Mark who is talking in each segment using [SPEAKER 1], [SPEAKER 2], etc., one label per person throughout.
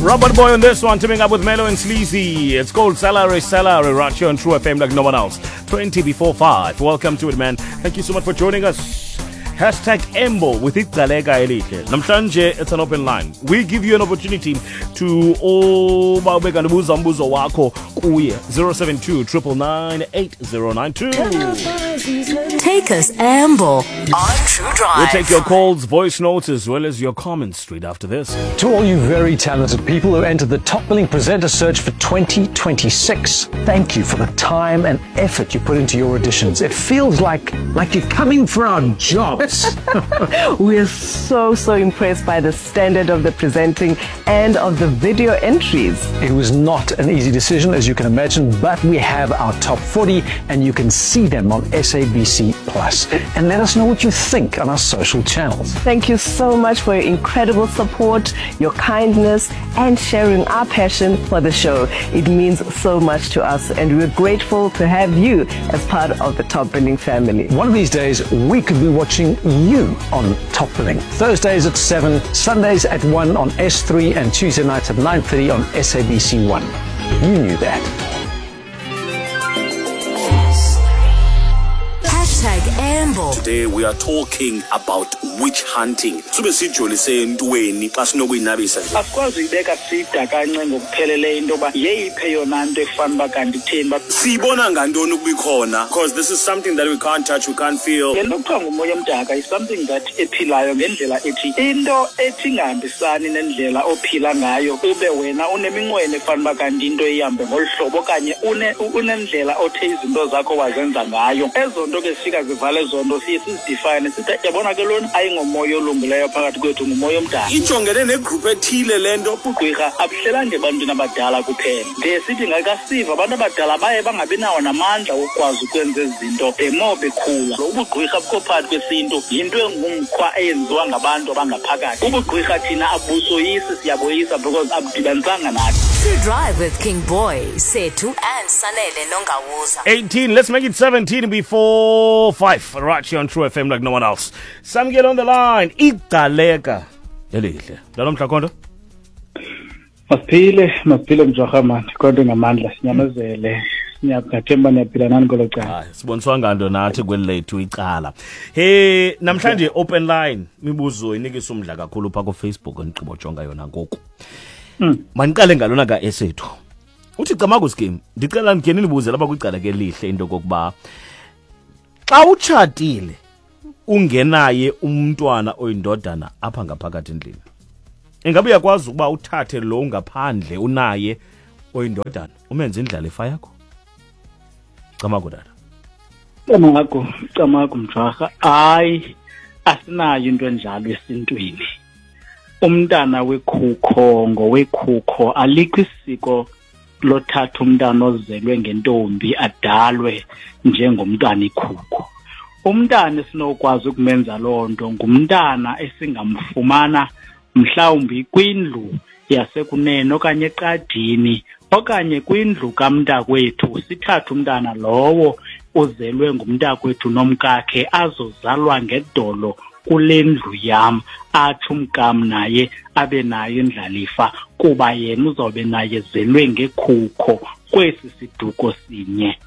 [SPEAKER 1] Robert Boy on this one, teaming up with Melo and Sleazy. It's called Salary Salary right here on True FM like no one else. 20 before 5. Welcome to it, man. Thank you so much for joining us. Hashtag Embo with Igcaleka Elihle. Namhlanje, it's an open line. We give you an opportunity to uba ube kanti ubuza umbuzo wakho kuye 072 999 8092.
[SPEAKER 2] Take us Amble on True Drive.
[SPEAKER 1] We'll take your calls, voice notes, as well as your comments straight after this.
[SPEAKER 3] To all you very talented people who entered the Top Billing Presenter Search for 2026, thank you for the time and effort you put into your auditions. It feels like like you're coming for our jobs.
[SPEAKER 4] We're so, so impressed by the standard of the presenting and of the video entries.
[SPEAKER 3] It was not an easy decision, as you can imagine, but we have our top 40 and you can see them on SABC Plus. And let us know what you think on our social channels.
[SPEAKER 4] Thank you so much for your incredible support, your kindness, and sharing our passion for the show. It means so much to us, and we're grateful to have you as part of the Top Billing family.
[SPEAKER 3] One of these days, we could be watching you on Top Billing. Thursdays at 7, Sundays at 1 on S3, and Tuesday nights at 9.30 on SABC 1. You knew that.
[SPEAKER 2] Hashtag Amble.
[SPEAKER 1] Today we are talking about witch hunting. Sube sijolise entweni xa sinokuyinabisa nje.
[SPEAKER 5] Asikwazi uyibeka sida kanci ngokupheleleyo into yoba yeyiphi eyona nto efana uba kanti itheni uba
[SPEAKER 1] Siyibona ngantoni ukuba ikhona? Because this is something that we can't touch, we can't feel.
[SPEAKER 5] Le nto kuthiwa ngumoya omdaka is something that ephilayo ngendlela ethi into ethi ingahambisani nendlela ophila ngayo ube wena uneminqweno efana uba kanti into ihambe ngolu hlobo okanye unendlela othe izinto zakho wazenza ngayo. Ezo nto ke zifika zivale ezo nto siye sizidifayine sithi yabona ke lona ayingomoya olungileyo phakathi kwethu, ngumoya omdaka.
[SPEAKER 1] Ijongene negroup ethile le nto.
[SPEAKER 5] Ubugqwirha abuhlelanga ebantwini abadala kuphela. Ndiye sithi ngakasiva abantu abadala baye bangabi nawo namandla wokukwazi ukwenza ezi zinto the more bekhula. Lo ubugqwirha bukho phakathi kwesintu, yinto engumkhwa eyenziwa ngabantu abangaphakathi. Ubugqwirha thina abusoyisi, siyaboyisa because abudibanisanga nathi.
[SPEAKER 2] True Drive with King Boy, Sethu and Sanele Nongawuza.
[SPEAKER 1] 18, let's make it 17 before 5. Right here on True FM like no one else. Samgel on the line. Igcaleka elihle. Lalo mhlakondo?
[SPEAKER 5] Masiphile, masiphile mjwarha mani, kodwa ngamandla sinyamezele. Siyathemba niyaphila nani kwelo cala.
[SPEAKER 1] Hayi, siboniswa nganto nathi kweli lethu icala. Hey, namhlanje open line imibuzo inikisa umdla kakhulu pha ku Facebook endigqibo jonga yona ngoku. Maniqale ngalona ka esethu. Uthi camagu scheme, ndicela ndikhe ninibuze lapha kwicala ke lihle into kokuba xa utshatile ungenaye umntwana oyindodana apha ngaphakathi endlini, ingabe uyakwazi ukuba uthathe lo ngaphandle unaye oyindodana umenze indlalifa yakho? Camagu tata.
[SPEAKER 5] Camagu, camagu mjwarha. Hayi, asinayo into enjalo esintwini. Umntana wekhukho ngowekhukho, alikho isiko lothatha umntana ozelwe ngentombi adalwe njengomntana ikhukho. Umntana esinokwazi ukumenza loo nto ngumntana esingamfumana mhlawumbi kwindlu yasekunene okanye eqadini okanye kwindlu kamntakwethu, sithathe umntana lowo uzelwe ngumntakwethu nomkakhe azozalwa ngedolo kule ndlu yam, atsho umkam naye abe nayo indlalifa kuba yena uzawube naye zelwe ngekhukho kwesi siduko sinye.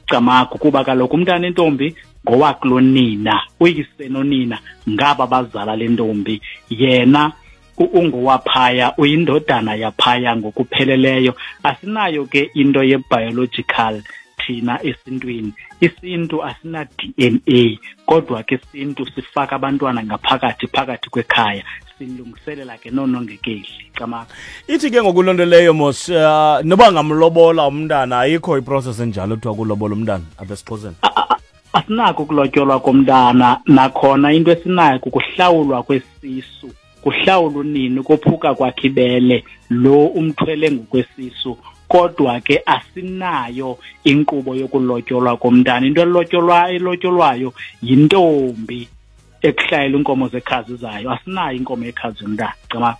[SPEAKER 5] Camagu, kuba kaloku umntana entombi ngowakulonina, uyise nonina ngaba bazala le ntombi, yena ungowaphaya, uyindodana yaphaya ngokupheleleyo. Asinayo ke into ye-biological thina esintwini. Isintu asina DNA, kodwa ke isintu sifaka abantwana ngaphakathi phakathi kwekhaya, silungiselela ke noonongekehli. Camagu.
[SPEAKER 1] Ithi ke ngoku loo nto leyo mos, noba ngamlobola umntana, ayikho iprocess enjalo kuthiwa kulobola umntana apha esiXhoseni.
[SPEAKER 5] Asinako ukulotyolwa komntana, nakhona into esinayo kukuhlawulwa kwesisu. Kuhlawula unini kophuka kwakhe ibele lo umthwele ngokwesisu, kodwa ke asinayo inkqubo yokulotyolwa komntana. Into elotyolwayo yintombi ekuhlayela inkomo zekhazi zayo. Asinayo inkomo yekhazi yomntana. Camagu.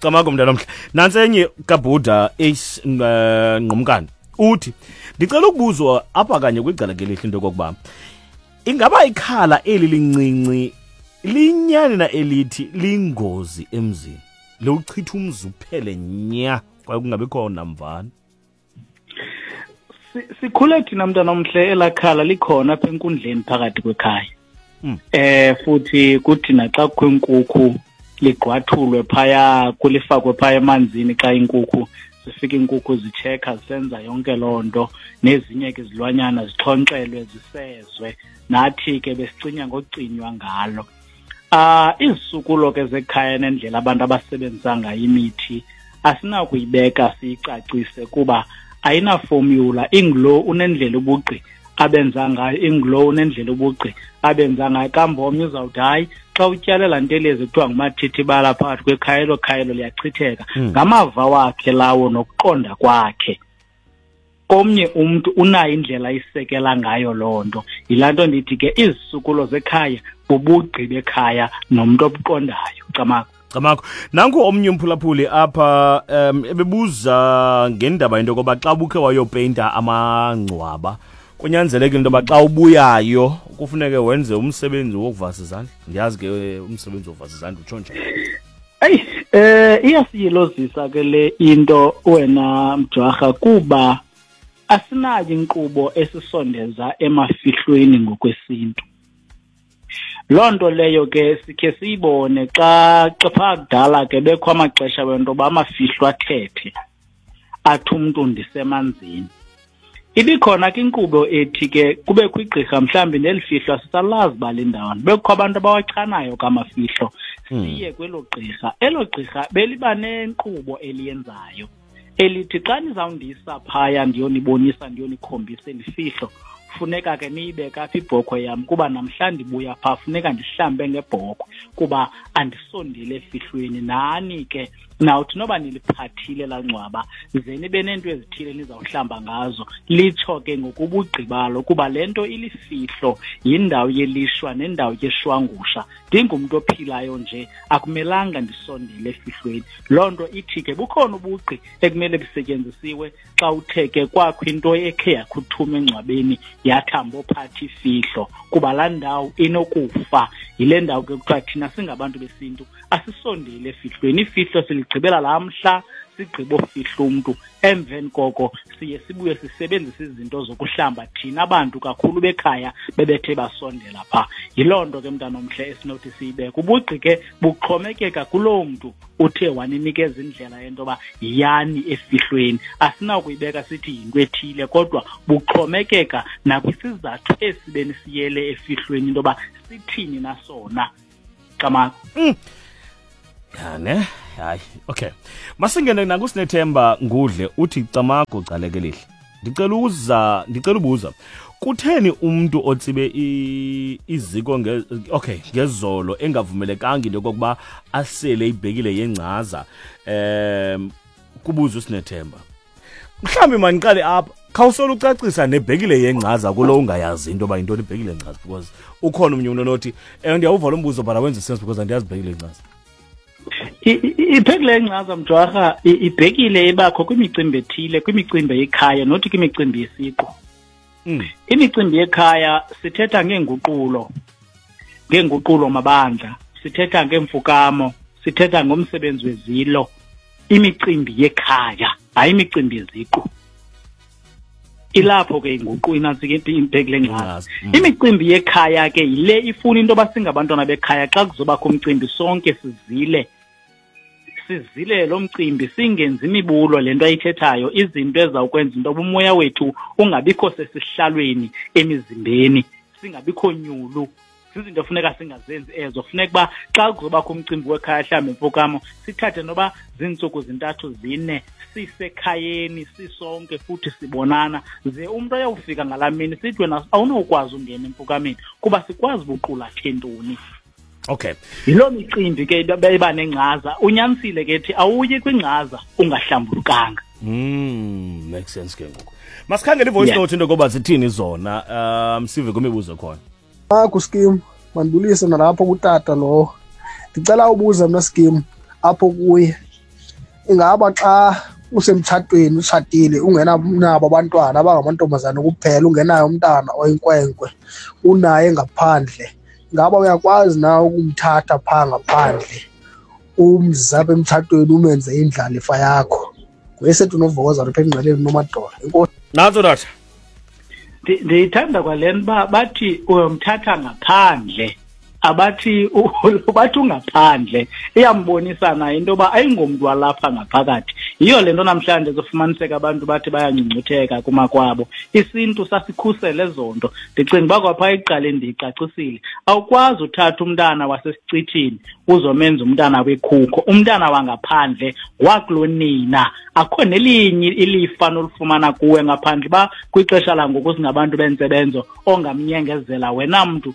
[SPEAKER 1] Camagu mntana omhle. Nantsi enye kaBhuda Ace Ngqumkane. Uthi ndicela ukubuzwa apha kanye kwicala ke lihle into yokokuba ingaba ikhala eli lincinci linyani na elithi lingozi emzini? Liwuchitha umzi uphele nya kwaye kungabikho namvana.
[SPEAKER 5] Sikhule thina mntana omhle elakhala likhona apha enkundleni phakathi kwekhaya. Futhi kuthi naxa kukho inkukhu ligqwathulwe phaya, kulifakwe phaya emanzini xa inkukhu zifika, iinkukhu zitshekha zisenza yonke loo nto, nezinye ke izilwanyana zixhonkxelwe zisezwe, nathi ke besicinya ngocinywa ngalo. Izisukulo ke zekhaya nendlela abantu abasebenzisa ngayo imithi asinakuyibeka siyicacise kuba ayinafomyula. Ingulo unendlela ubugqi abenza ngayo, ingulo unendlela ubugqi abenza ngayo. Kambe omnye uzawuthi hayi, xa utyalela ntelezi kuthiwa ngumathithibala phakathi kwekhaya, elo khaya elo liyachitheka. Ngamava wakhe lawo nokuqonda kwakhe. Komnye umntu unayo indlela ayisekela ngayo loo nto. Yilaa nto ndithi ke izisukulo zekhaya bubugqi bekhaya nomntu obuqondayo. Camagu.
[SPEAKER 1] Camagu. Nanku omnye umphulaphuli apha ebebuza ngendaba into yokoba xa ubukhe wayopeyinta amangcwaba kunyanzeleke into yoba xa ubuyayo kufuneke wenze umsebenzi wokuvasa izandla. Ndiyazi ke umsebenzi wokuvasa izandla utsho njani.
[SPEAKER 5] Eyi, iyasiyilozisa ke le into wena Mjwarha, kuba asinayo inkqubo esisondeza emafihlweni ngokwesintu. Loo nto leyo ke sikhe siyibone xa phaa kudala ke bekho amaxesha wento yoba amafihlo athethe, athi umntu ndisemanzini. Ibikhona ke inkqubo ethi ke kubekho igqirha mhlawumbi neli fihlo asisalazi uba lindawoni, bekukho abantu abawachanayo kamafihlo, siye kwelo gqirha. Elo gqirha beliba nenkqubo eliyenzayo elithi xa nizawundisa phaya ndiyonibonisa ndiyonikhombisa eli fihlo, funeka ke niyibeke apha ibhokhwe yam kuba namhla ndibuya phaa funeka ndihlambe ngebhokhwe kuba andisondele efihlweni. Nani ke nawuthi noba niliphathile laa ngcwaba ze nibe neento ezithile nizawuhlamba ngazo. Litsho ke ngokubugqibalo kuba le nto ilifihlo, yindawo yelishwa nendawo yeshwangusha. Ndingumntu ophilayo nje akumelanga ndisondele efihlweni. Loo nto ithi ke bukhona ubugqi ekumele busetyenzisiwe xa uthe ke kwakho into ekhe yakhuthuma engcwabeni yathamba ophatha ifihlo, kuba laa ndawo inokufa. Yile ndawo ke kuthiwa thina singabantu besintu asisondele efihlweni. Ifihlo siligqibela laa mhla sigqiba ofihla umntu, emveni koko siye sibuye sisebenzise izinto zokuhlamba thina bantu kakhulu bekhaya bebethe basondela phaa. Yiloo nto ke mntanomhle esinothi siyibeke. Ubugqi ke buxhomekeka kuloo mntu uthe waninikeza indlela yento yoba yiyani efihlweni. Asinakuyibeka sithi yinto ethile, kodwa buxhomekeka nakwisizathu esi benisiyele efihlweni into yoba sithini nasona. Camagu.
[SPEAKER 1] Ya ne, hayi, okay. Masingene nakuSinethemba Ngudle uthi camagu Gcaleka elihle. Ndicela ubuza. Kutheni umuntu otsibe iziko ngezolo engavumelekanga into yokokuba asele ibhekile yengcaza, kubuza uSinethemba. Mhlawumbi mandiqale apha, khawusole ucacisa nebhekile yengcaza kulo ungayazi into yoba yintoni ibhekile yengcaza, because ukhona omnye umntu onothi, ndiyawuva lo mbuzo but awenzi sense because andiyazi ibhekile yengcaza.
[SPEAKER 5] Ibhekile yengcaza Mjwarha, ibhekile ibakho kwimicimbi ethile, kwimicimbi yekhaya nothi kwimicimbi yesiqu. Imicimbi yekhaya sithetha ngeenguqulo, ngeenguqulo mabandla, sithetha ngeemfukamo, sithetha ngomsebenzi wezilo, imicimbi yekhaya, hayi imicimbi yeziqu. Ilapho ke inguqu inantsi ke ibhekile ngcaza. Imicimbi yekhaya ke yile ifuna into yoba singabantwana bekhaya xa kuzobakho umcimbi sonke sizile. Sizile lo mcimbi singenzi imibulo le nto ayithethayo, izinto ezawukwenza into yoba umoya wethu ungabikho sesihlalweni emizimbeni, singabikho nyulu. Zizinto funeka singazenzi ezo. Funeka uba xa kuzobakho umcimbi wekhaya mhlawumbi emfukamo sithathe noba ziintsuku zintathu zine sisekhayeni sisonke futhi sibonana, ze umntu ayawufika ngalaa mini sithi wena awunokwazi ungena emfukameni kuba sikwazi buqulathe ntoni. Yiloo micimbi ke iba nengcaza. Unyanisile ke thi awuyi kwingcaza ungahlambulukanga.
[SPEAKER 1] Makes sense ke ngoku. Masikhangele i-voice note into yokoba zithini zona, sive kwimibuzo khona.
[SPEAKER 6] Akho Skim, mandibulise nalapho kutata lowo. Ndicela ubuza mna Skim apho kuye. Ingaba xa usemtshatweni utshatile ungenabo abantwana abangamantombazana kuphela, ungenayo umntana oyinkwenkwe, unaye ngaphandle, ingaba uyakwazi na ukumthatha phaa ngaphandle Umzi apha emtshatweni umenze indlalifa yakho. Nguyesethu novokoza apha engqeleni nomadola. Enkosi.
[SPEAKER 1] Nantso tata.
[SPEAKER 5] Ndiyithanda kwale nto uba bathi uyomthatha ngaphandle, abathi bathi ungaphandle. Iyambonisa nayo into yoba ayingomntu walapha ngaphakathi. Yiyo le nto namhlanje kufumaniseka abantu bathi bayangcungcutheka kumakwabo. Isintu sasikhusela ezo nto. Ndicinga uba kwapha ekuqaleni ndiyicacisile. Awukwazi uthatha umntana wasesicithini uzomenza umntana wekhukho. Umntana wangaphandle wakulonina, akho nelinye ilifa nolufumana kuwe ngaphandle uba kwixesha langoku singabantu bentsebenzo ongamnyengezela wena mntu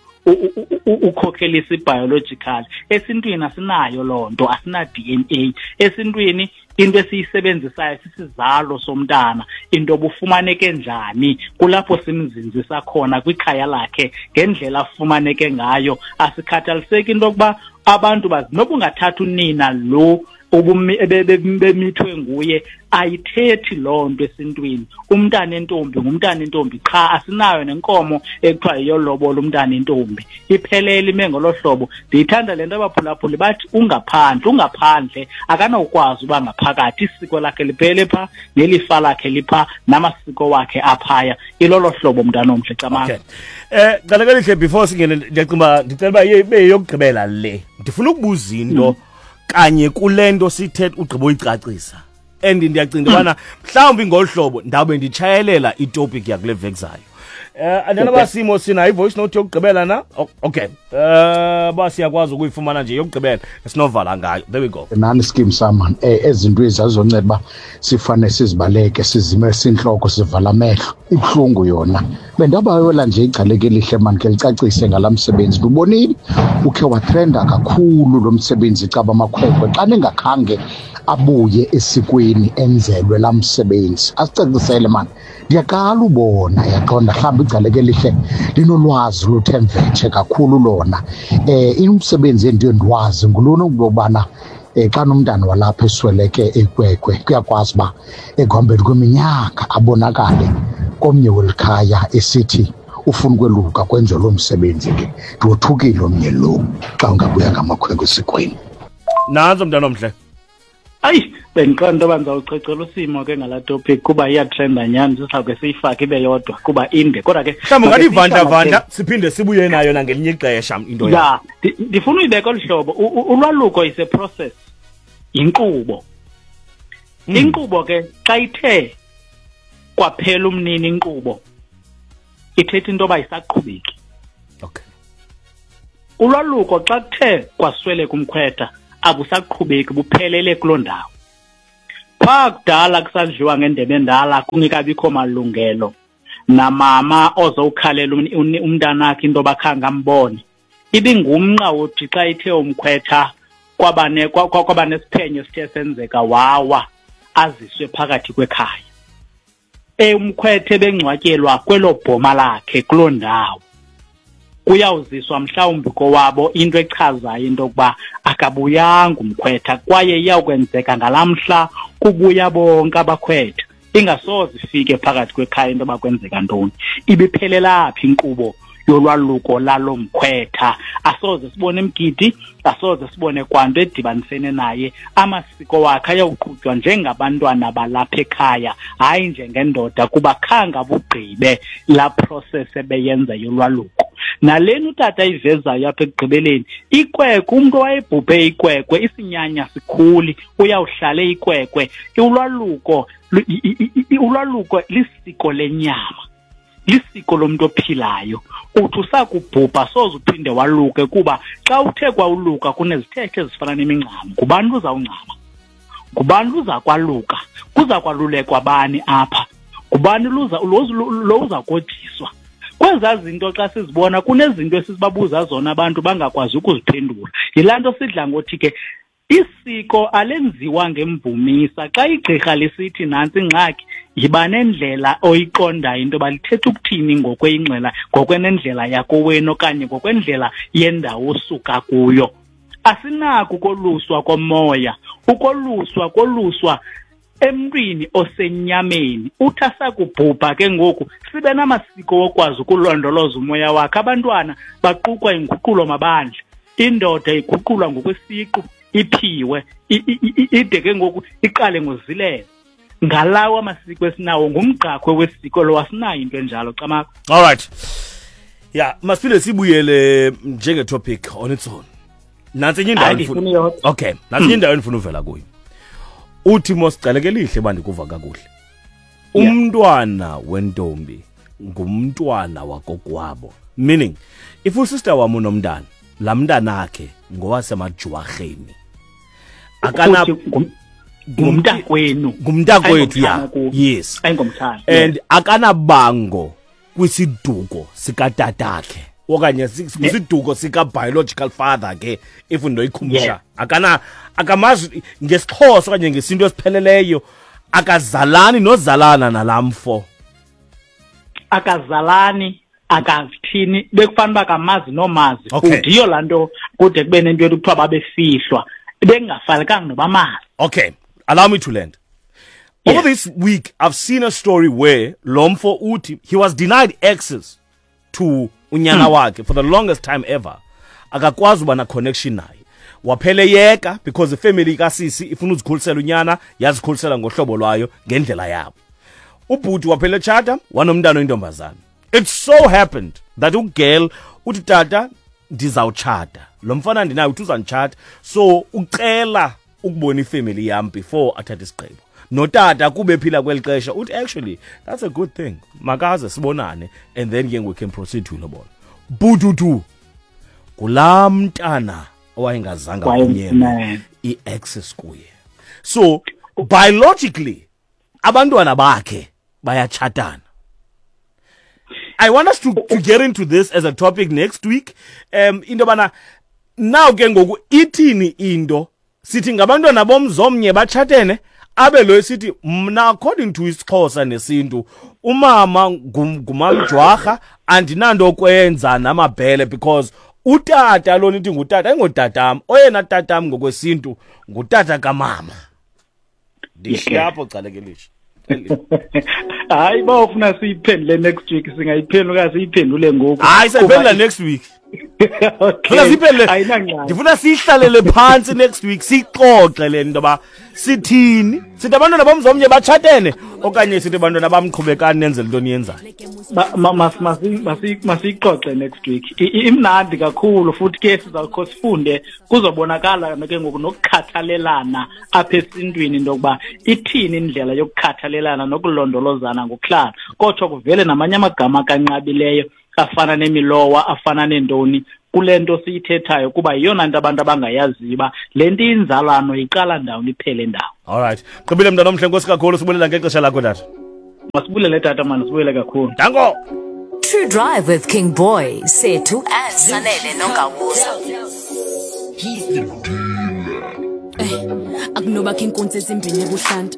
[SPEAKER 5] ukhokhelisa i-biological. Esintwini asinayo loo nto, asina-DNA. Esintwini into esiyisebenzisayo sisizalo somntana, into obufumaneke njani, kulapho simzinzisa khona kwikhaya lakhe ngendlela afumaneke ngayo. Asikhathaliseki into yokuba abantu bazi noba ungathatha unina lo bemithwe nguye, ayithethi loo nto esintwini. Umntana entombi ngumntana entombi qha, asinayo nenkomo ekuthiwa yiyolobola umntana entombi. Iphelele ime ngolo hlobo. Ndiyithanda le nto abaphulaphuli bathi ungaphandle, ungaphandle akanawukwazi uba ngaphakathi. Isiko lakhe liphele pha, nelifa lakhe lipha, namasiko wakhe aphaya. Ilolo hlobo, mntana omhle. Camanga.
[SPEAKER 1] Okay. Cala kelihle, before singene, ndiyacinga uba ndicela uba ibe yeyokugqibela le. Ndifuna ukubuza into kanye kule nto sithetha ugqiba uyicacisa. And ndiyacinga ubana mhlawumbi ngolu hlobo ndawube nditshayelela itopic yakule veki zayo. Andiyana uba simo sinayo i-voice note yokugqibela na? Oh, okay. Uba siyakwazi ukuyifumana nje yokugqibela esinovala ngayo. There we go.
[SPEAKER 7] Nani scheme sama, ezinto ezazonceda uba sifane sizibaleke, sizime sintloko, sivala amehlo. Ibuhlungu yona. Bendabayola nje igcaleke elihle mani ke licacise ngala msebenzi. Ndubonile ukhe watrenda kakhulu lo msebenzi caba amakhwenkwe xa ningakhange abuye esikweni enzelwe la msebenzi. Asicacisele mani. Ndiyaqala ubona, yaqonda mhlawumbi igcaleke elihle linolwazi luthe mvetshe kakhulu lona. Umsebenzi endiye ndiwazi ngulona ukubana xa umntana walapha esweleke ekwekwe, kuyakwazi uba ekuhambeni kweminyaka abonakale komnye welikhaya esithi ufuna ukweluka, kwenziwe loo msebenzi ke. Ndiwothukile omnye lo xa ungabuya ngamakhwenkwe esikweni.
[SPEAKER 1] Nantso mntana omhle.
[SPEAKER 5] Ayi, bendiqonda into yoba ndizawuchechela usimo ke ngalaa topic kuba iyatrenda nyhani, sizawuke siyifake ibe yodwa kuba inde, kodwa ke
[SPEAKER 1] mhlawumbi ungathi ivandla-vandla siphinde sibuye nayo nangelinye ixesha into
[SPEAKER 5] ya. Ndifuna uyibeka olu hlobo. Ulwaluko is a process, yinkqubo. Inkqubo ke xa ithe kwaphela umnini inkqubo, ithetha into yoba isaqhubeki. Ulwaluko xa kuthe kwasweleka umkhwetha akusaqhubeki, buphelele kuloo ndawo. Phaa kudala kusadliwa ngendebe endala, kungekabikho malungelo namama ozowukhalela umntanakhe into yoba khange ambone. Ibingumnqa wothi xa ithe umkhwetha kwaba nesiphenyo esithe senzeka, wawa aziswe phakathi kwekhaya. Umkhwethe bengcwatyelwa kwelo bhoma lakhe kuloo ndawo. Kuyawuziswa mhlawumbi kowabo into echazayo into yokuba akabuyanga umkhwetha, kwaye iyawukwenzeka ngalaa mhla kubuya bonke abakhwetha. Ingasoze ifike phakathi kwekhaya into yoba kwenzeka ntoni. Ibiphelela phi inkqubo yolwaluko lalo mkhwetha? Asoze sibone mgidi, asoze sibone kwanto edibanisene naye. Amasiko wakhe ayawuqhutywa njengabantwana balapha ekhaya, hayi njengendoda, kuba khange abugqibe laa process ebeyenza yolwaluko. Nalena utata ayivezayo apha ekugqibeleni, ikwekwe, umntu owayebhubhe ikwekwe, isinyanya sikhuli, uyawuhlala ikwekwe. Ulwaluko ulwaluko lisiko lenyama, lisiko lomntu ophilayo. Uthi usakubhubha soze uphinde waluke, kuba xa uthe kwawuluka kunezithethe ezifana nemingcamo. Ngubani uzawungcama? Ngubani uza kwaluka? Kuza kwalulekwa bani apha? Ngubani lo uza kojiswa? Kwezaa zinto xa sizibona kunezinto esizibabuza zona abantu bangakwazi ukuziphendula. Yilaa nto sidla ngothi ke isiko alenziwa ngemvumisa. Xa igqirha lisithi nantsi ingxaki, yiba nendlela oyiqondayo into yoba lithetha ukuthini ngokwengxela, ngokwenendlela yakowenu okanye ngokwendlela yendawo osuka kuyo. Asinako ukoluswa komoya. Ukoluswa koluswa emntwini osenyameni. Uthi asakubhubha ke ngoku sibe namasiko wokwazi ukulondoloza umoya wakhe. Abantwana baqukwa inguqulo mabandla, indoda iguqulwa ngokwesiqu, iphiwe ide ke ngoku iqale ngozilela. Ngalawo amasiko esinawo, ngumgqakhwe wesiko lo, asinayo into enjalo, Camakho.
[SPEAKER 1] All right, yeah, masiphinde sibuyele njenge-topic on its own. Nantsi enye indawo
[SPEAKER 5] Hayi,
[SPEAKER 1] endifuna-
[SPEAKER 5] ndifuna iyodwa.
[SPEAKER 1] Okay, nantsi enye indawo endifuna uvela kuyo. Uthi mosicaleke lihle uba ndikuva kakuhle, umntwana wentombi ngumntwana wakokwabo, meaning if usister wam unomntana, laa mntanakhe ngowasemajwarheni, akana
[SPEAKER 5] Futhi ngumntakwenu.
[SPEAKER 1] Ngumntakwethu, ya.
[SPEAKER 5] Ayingomtshana kuwe.
[SPEAKER 1] Yes.
[SPEAKER 5] Ayingomtshana.
[SPEAKER 1] And akanabango kwisiduko sikatatakhe okanye kwisiduko sika-biological father ke, if ndoyikhumsha. Akana, akamazi ngesiXhosa okanye ngesintu esipheleleyo, akazalani nozalana nalaa mfo.
[SPEAKER 5] Akazalani, akathini, bekufanele uba kamazi nomazi. Futhi yiyo laa nto kude kube nento yokuthi kuthiwa babefihlwa, bekungafanelekanga nobamazi.
[SPEAKER 1] Okay, allow me to land. Over this week I've seen a story where lo mfo uthi he was denied access to unyana wakhe for the longest time ever, akakwazi uba na-connection naye, waphele yeka because ifamily kasisi ifuna uzikhulisela unyana, yazikhulisela ngohlobo lwayo, ngendlela yabo. Ubhuti waphela etshata, wanomntana oyintombazana. It so happened that ugirl uthi, "Tata, ndizawutshata lo mfana ndinayo." Uthi uzanditshata, so ucela ukubona ifamily yam before athathe isigqibo. Notata kube ephila kweli xesha uthi, "Actually, that's a good thing, makaze sibonane and then ke we can proceed to ilobola." Bututu kulaa mntana owayengazange avunyelwe i-access kuye. So biologically abantwana bakhe bayatshatana. I want us to get into this as a topic next week, into yobana now ke ngoku ithini into, sithi ngabantwana bomzomnye batshatene, abe lo sithi mna according to isiXhosa nesintu umama ngumamjwarha, andinanto kwenza namabhele, because utata lo nithi ngutata ayingotatam, oyena tatam ngokwesintu ngutata kamama. Ndishiya apho, Calekelisha.
[SPEAKER 5] Hayi, ba ufuna siyiphendule next week, singayiphendula okanye siyiphendule ngoku?
[SPEAKER 1] Hayi, sayiphendula next week.
[SPEAKER 5] Okay.
[SPEAKER 1] Funa siyiphendule.
[SPEAKER 5] Ayinangxaki.
[SPEAKER 1] Ndifuna siyihlalele phantsi next week, siyixoxe le nto yoba sithini, sithi abantwana bomzomnye batshatene okanye sithi abantwana bamqhubekani nenzele into niyenzayo.
[SPEAKER 5] Masiyixoxe next week. Imnandi kakhulu futhi ke sizawukho sifunde, kuzobonakala ke ngoku nokukhathalelana apha esintwini, into yokuba ithini indlela yokukhathalelana nokulondolozana ngokuhlala, kotsho kuvele namanye amagama akanqabileyo afana nemilowa, afana neentoni kule nto siyithethayo, kuba yiyona nto abantu abangayaziyo uba le nto inzalano iqala ndawoni, iphele ndawo.
[SPEAKER 1] All right, gqibile, mntana omhle, nkosi kakhulu, sibulela ngexesha lakho, tata.
[SPEAKER 5] Masibulele, tata, mani, sibuyele kakhulu.
[SPEAKER 1] Danko.
[SPEAKER 2] True Drive with King Boy, Sethu and Sanele Nongawuza.
[SPEAKER 8] Akunobakho iinkunzi ezimbini ebuhlanti.